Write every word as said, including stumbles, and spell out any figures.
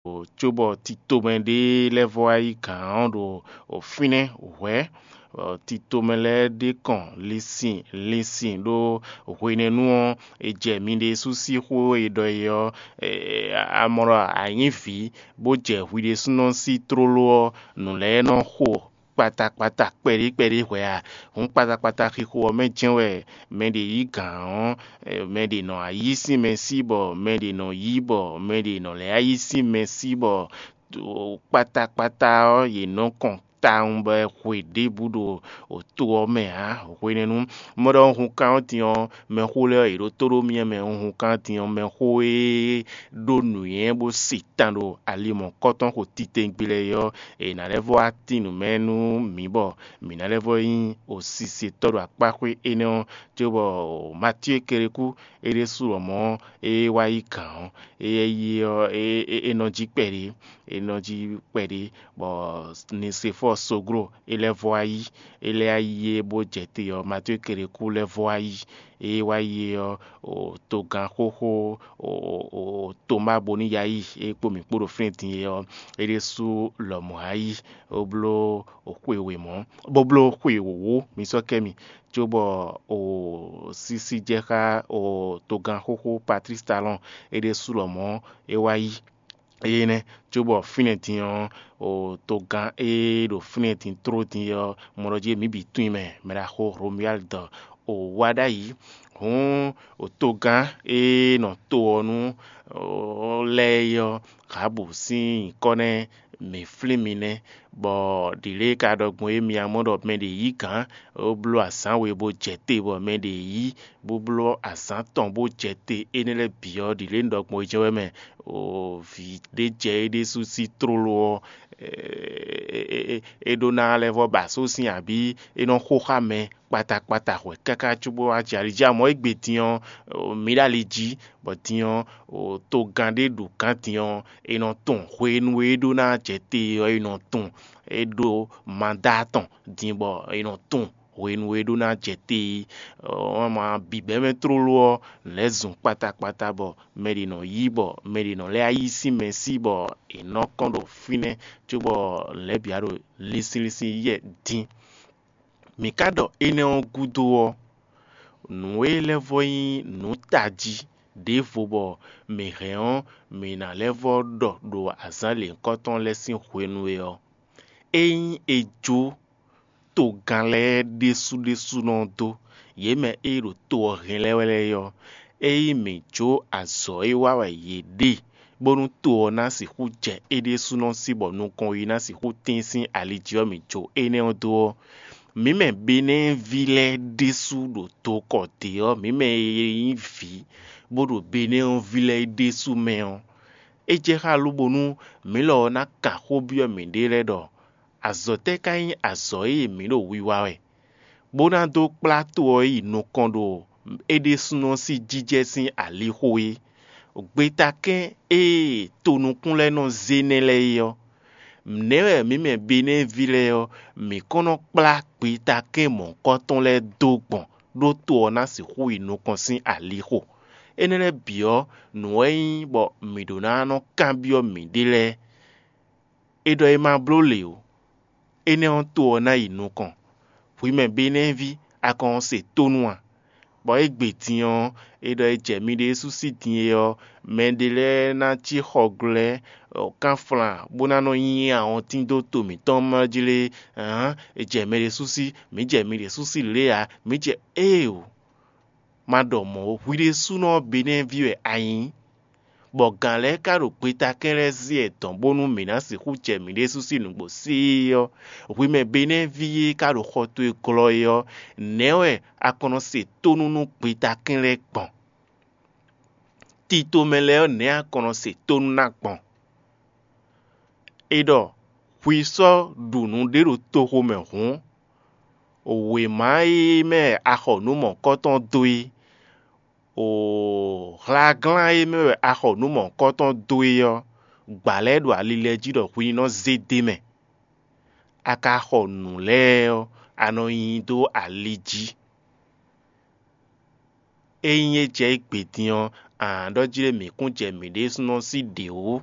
cóbɔ titomɛ ɖé lɛ́ɛ vɔ wá yí gǎn ɔ́ ɖo fínɛ́ hwɛ̌. Titomɛ lɛ́ɛ ɖe kɔn linsin linsin ɖó hwenɛ́nu ɔ́, è jɛ mi ɖésú sín xó e ɖɔ é ɔ́, amɔ̌ ɖɔ a nyǐ vǐ, bó jɛ hwi ɖésúnɔ sín tlóló ɔ́, nǔ lɛ́ɛ nɔ xo kpatakpata kpɛɖé kpɛɖé hwɛ̌ a? Hǔn kpatakpata xixo ɔ́ mɛ jɛ́n wɛ mɛ ɖě yí gǎn ɔ́, mɛ ɖě nɔ ayí sín mɛ sí bɔ mɛ ɖě nɔ yí bɔ mɛ ɖě nɔ lɛ́ ayí sín mɛ sí bɔ kpatakpata ɔ́, yě nɔ kɔn tawun bɔ è hwe ɖěbǔ ɖo to ɔ́ mɛ ǎ. Hwenɛ́nu mɔ ɖɔ un hun kan ɔ́ din ɔ́, mɛxó lɛ́ɛ ɔ́, yě ɖo tó ɖó myɛ mɛ. Un hun kan din ɔ́, mɛxó e ɖó nǔnywɛ́ bó se tan ɖo ali mɔ̌kɔtɔn xo titewungbe lɛ́ɛ é ɔ́, è nǎ lɛ́ vɔ wá tín nǔ mɛ nú mǐ bɔ mǐ ná lɛ́ vɔ nyí osisetɔ́ ɖo akpáxwé énɛ́ ɔ́, cóbɔ Matíe Kelekú é ɖésú lɔmɔ̌ é wá yí gǎn ɔ́, éyɛ́ yi ɔ́, é nɔ jí kpɛɖé, é nɔ jí kpɛɖé, bɔ Nisefɔ́ɔ Soglo é lɛ́ vɔ wá yí, é lɛ́ yí é bó jɛ te ɔ́, Matíe Kelekú lɛ́ vɔ wá yí. É wá yi é ɔ́, togán xóxó Tomáa Boniyayí é kpó mǐ kpó ɖo fínɛ́ din é ɔ́, é ɖésú lɔmɔ̌ wá yí, bó bló xwe wěmɔ̌, bó bló xwe wǒwó, mi sɔ́ kɛ mi, cóbɔ sísí jɛ xá togán xóxó Patlísi Talɔ́ɔn, é ɖésú lɔmɔ̌ é wá yí. Énɛ́ cóbɔ fínɛ́ din ɔ́, togán e ɖo fínɛ́ din tló din ɔ́, mɔ ɖɔ jí mǐ bǐ tunwun i mɛ, mɛ ɖaxó Romuyáli dɔ wá ɖ'ayǐ. Hǔn togán e nɔ to ɔ́ nú lɛ́ɛ é ɔ́, Ɣabu sín nyǐkɔ nɛ́ mǐ flín mi nɛ́, bɔ ɖǐ lě e ka ɖɔ gbɔn é mi ǎ mɔ ɖɔ mɛ ɖě yí gǎn, bó bló azǎn we bó jɛ te bɔ mɛ ɖě yí, bó bló azǎn tɔn bó jɛ te, énɛ́ lɛ́ɛ bǐ ɔ́, ɖǐ lě un ɖɔ gbɔn é jɛ́n wɛ mɛ. Vǐ ɖé jɛ é ɖésú sín tlóló ɔ́, é ɖó ná lɛ́ vɔ́ ba asú sín abǐ é nɔ xo xá mɛ kpata kpata hwɛ̌ káká cóbó wá jɛ ali jí. Amɔ̌ égbé din ɔ́, mǐ ɖo ali jí, bɔ din ɔ́, togán ɖé ɖo gǎn din ɔ́, è nɔ tunwun hwenu e é ɖó ná jɛ te ɔ́, è nɔ tunwun é ɖó mandá tɔn din bɔ è nɔ tunwun hwenu e é ɖó ná jɛ te é. Wǎn ma bǐbɛ́ mɛ tlóló ɔ́, lɛ̌ zun kpata kpata bɔ mɛ ɖě nɔ yí bɔ mɛ ɖě nɔ lɛ́ yí sín mɛ sí bɔ è nɔ kɔn ɖo fínɛ́ cóbɔ lɛ̌ bǐ wá ɖo línslínslín yɛ dín. Mǐ ka ɖɔ énɛ́ ɔ́ gúdo ɔ́, nǔ e lɛ́ vɔ nyí nǔ tají ɖěvo bɔ mǐ hɛn ɔ́, mǐ ná lɛ́ vɔ ɖɔ ɖo azǎn lěhunkɔtɔn lɛ́ɛ sín hwenu e ɔ́, ényí è jó togán lɛ́ɛ ɖésú ɖésúnɔ dó, yě mɛ e ɖo to ɔ́ hɛn lɛ́ɛ wɛ lɛ́ɛ ɔ́, ényí mǐ jó azɔ̌ e wa wɛ yě ɖe bónú to ɔ́ ná sixú jɛ é ɖésúnɔ sí bɔ nukɔn yi ná sixú tín sín ali jí ɔ́, mǐ jó énɛ́ ɔ́ dó ɔ́, mǐ mɛ Benɛ́ɛví lɛ́ɛ ɖésú ɖo tokɔ dě ɔ́, mǐ mɛ e nyí vǐ bó ɖo Benɛ́ɛví lɛ́ɛ ɖésú mɛ ɔ́, é jɛ xá lóbónú mǐ lɔ ɔ́ ná kan xó byɔ́ mǐɖée lɛ́ɛ ɖɔ azɔ̌ tɛ́ ka nyí azɔ̌ e mǐ ɖo wiwa wɛ, bó ná dó kplá to ɔ́ yi nukɔn ɖo é ɖésúnɔ sín jijɛ sín alixo é? Gbetakɛ́n e tonukún lɛ́ɛ nɔ zé nɛ́ lɛ́ɛ é ɔ́, nɛ̌ wɛ mǐ mɛ Benɛ́ɛví lɛ́ɛ ɔ́, mǐ kɔn nɔ kplá gbetakɛ́n mɔ̌hunkɔtɔn lɛ́ɛ dó gbɔn ɖó to ɔ́ ná sixú yi nukɔn sín alixo? Énɛ́ lɛ́ɛ bǐ ɔ́, nǔ wɛ nyí bɔ mǐ ɖó ná nɔ kanbyɔ́ mǐɖée lɛ́ɛ. È ɖɔ è ma bló lě ó. Énɛ́ ɔ́, to ɔ́ ná yi nukɔn. Hwi mɛ Benɛ́ɛví, a kɔn se tónú a? Bɔ égbé din ɔ́, è ɖɔ è jɛ mi ɖésú sí din é ɔ́, mɛɖé lɛ́ɛ ná cí xɔglɔ́ kánflán bó ná nɔ nyi awɔntín dó to mǐtɔn mɛ jí lé? Hǎn, è jɛ mɛ ɖésú sí, mǐ jɛ mi ɖésú sí lě ǎ, mǐ jɛ éeǒ. Ma ɖɔ mɔ̌, hwi ɖésúnɔ Benɛ́ɛví wɛ a nyǐ, bɔ gǎn lɛ́ɛ ka ɖo gbetakɛ́n lɛ́ɛ zé wɛ dɔ̌n bónú mǐ ná sixú jɛ mǐ ɖésú sín nǔgbó sí ɔ́, hwi mɛ Benɛ́ɛví e ka ɖo xɔ towe glɔ́ é ɔ́, nɛ̌ wɛ a kɔn nɔ se tónú nú gbetakɛ́n lɛ́ɛ gbɔn? Tito mɛ lɛ́ɛ ɔ́, nɛ̌ a kɔn nɔ se tónú ná gbɔn? È ɖɔ hwi sɔ́ ɖu nǔɖé ɖo toxo mɛ hǔn, wěma e mɛ a xɔ nǔ mɔ̌hunkɔtɔn dó é, o hlaglán e mɛ wɛ a xɔ nǔ mɔ̌hunkɔtɔn dó é ɔ́, gbǎ lɛ́ɛ ɖo ali lɛ́ɛ jí ɖɔ hwi ní nɔ zé d'é mɛ. A ka xɔ nǔ lɛ́ɛ ɔ́, a nɔ nyi dó ali jí. Ényí é jɛ égbé din ɔ́, a nǎ ɖɔ jí ɖé mǐ kún jɛ mǐ ɖésúnɔ sí ɖě wú.